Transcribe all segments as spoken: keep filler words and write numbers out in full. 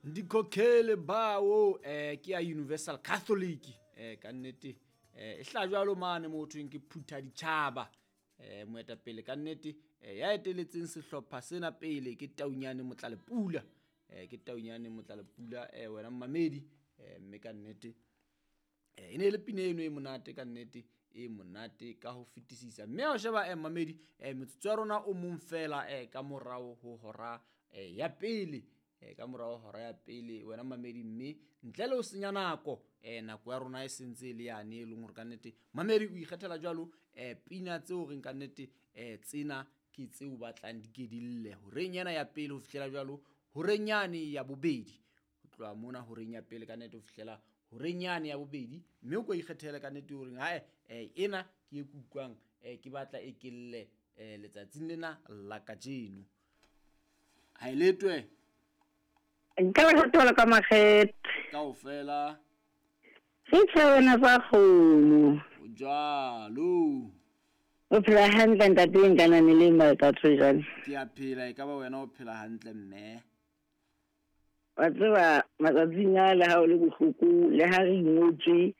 Ndikhokhele bawo eh ke ya Universal Catholic eh ka nnete eh e hla jwalo mane mo thweng ke phutha ditjhaba eh moetapele ka nnete eh, ya eteletseng sehlopha sena pele ke Taunyane Motlalepula eh ke Taunyane Motlalepula eh wena mmamedi eh mme ka nnete eh e ne le pina eno e monate ka nnete e monate ka ho fetisisa mme ha o sheba eh mmamedi eh metsotso ya rona o mong fela eh ka morao ho hora eh ya pele eh ka morao hora ya pele wena mamedi mme ntle le ho senya nako eh nako ya rona e sentse e le yane e leng hore ka nnete mamedi o ikgethela jwalo eh pina tseo reng ka nnete eh tsena ke tseo batlang di ke di lle horeng ena ya pele ho fihlela jwalo horeng yane ya bobedi ho tloha mona horeng ya pele ka nnete ho fihlela horeng yane ya bobedi mme o ko ikgethele ka nnete horeng hae eh ena ke e kukwang eh ke batla e kelle eh letsatsing lena la kajeno ha e letwe Nka ba thola ka makgethe kaofela re tshwana sa kgomo o jwalo o phela hantle ntate nka le malka jwale ke a phela e ka ba wena o phela hantle mme wa tseba matsatsing a le ha o le bohloko le ha re ingotswe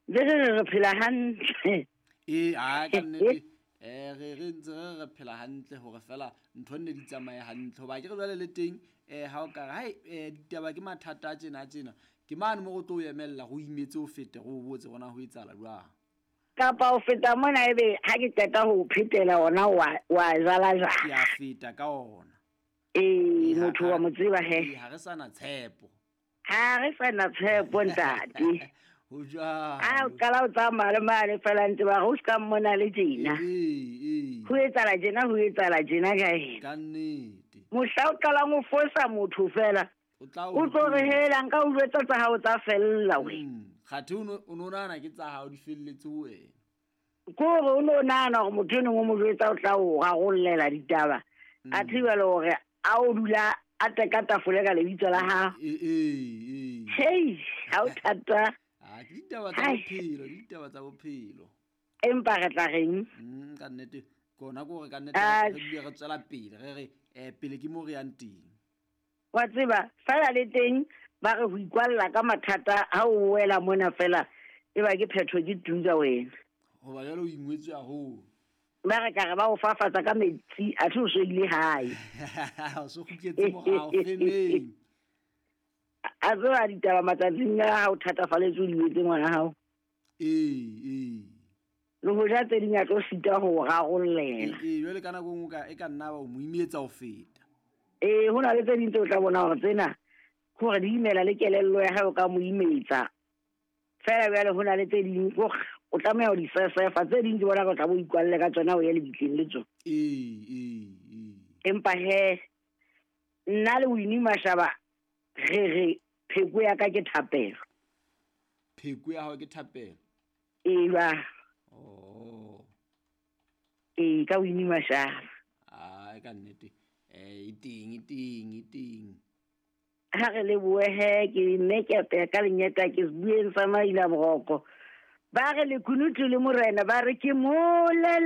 le re re phela hantle ee a ka nnete eh re re ntse re re phela hantle hore fela ntho nne di tsamaye hantle hoba ke re jwale le teng eh ha o ka re hai eh ditaba ke mathata a tjena a tjena ke mane mo go tlo o emella go imetse o fete go o botse gona ho etsahala jwang kapa o feta mona ebe ha ke qeta ho phetela ona wa wa jala ke jala a feta ka ona ee Ee, ha- motho wa mo tseba he ee, ha re sana tshepo ha re sana tshepo ntate ho a o jwalo qala o tsamaya le mane fela ntse ba re o ska mmona le tjena ee ee ho etsahala tjena ho etsahala tjena ka ena ka nnete mohla o qalang o fosa motho fela o tla o tlo re hela nka o jwetsa tsa hao tsa fella we Mm, kgathe o no o no nahana ke tsa hao di felletse ho wena ke hore o no nahana hore motho enong o mo jwetsa o tla o rarollela ditaba a thibele hore a o dula a teka tafole ka lebitso la hao ee ee hei ha o thata ah ke ditaba tsa Hai. bophelo ke ditaba tsa bophelo empa re tla reng Mm, ka nnete kona ke hore ka nnete Ah. re dule re tswela pele re re eh pele ke mo re yang teng wa tseba fela le teng ba re ho ikwalla ka mathata ha o wela mona fela e ba ke phetho ke tuka wena hoba jwale o ingwetswe haholo ba re ka re ba o fafatsa ka metsi a the o so ile hae o so kgutletse morao femeng a tseba ditaba matsatsing a ha o thatafalletswe o di etse ngwana hao ee ee le hoja tse ding a tlo sita ho o rarollela ee jwale ka nako e nngwe ka- e ka nna ba o mo imetsa ho feta ee ho na le tse ding tse o tla bona hore tsena ke hore di imela le kelello ya hae o ka mo imetsa fela bjale ho na le tse ding kore o tlameha ho di sesefa tse ding ke bona ka o tla bo ikwalle ka tsona o ye lebitleng le tsona ee ee ee empa he nna le Winnie Mashaba re re pheko ya ka ke thapelo pheko ya hao ke thapelo ee ba oh ee ka Winnie Mashaba ai ka nnete eh e teng e teng e teng ha re lebohe ke mme ke apeya ka lenyeta ke sebueng sa maila boroko ba re lekunutu le morena ba re ke mole